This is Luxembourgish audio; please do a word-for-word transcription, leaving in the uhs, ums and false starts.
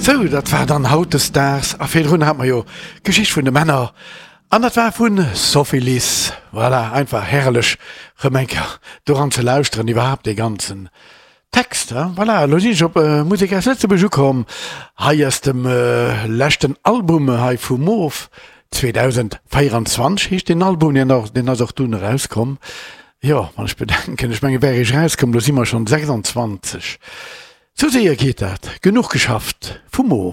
Sou, dat war dann hautdesdaags a virdrun hat mer jo d'Geschicht vun de Männer an dat war vun Sophie Lys. Voilà, einfach herrlech rëm eng Kéier doran ze lauschteren, iwwerhaapt dee ganzen Text. Voilà, elo sinn ech op Musek aus Lëtzebuerg ukomm, hei aus dem leschten Album hei vu Moof, zweedausendvéieranzwanzeg heescht deen Album, deen ass och dunn erauskomm. Jo, wann ech bedenken, ech mengen, wär ech erauskomm, elo si mer schonn sechsanzwanzeg. Sou séier geet dat. Genuch geschafft vu Moof.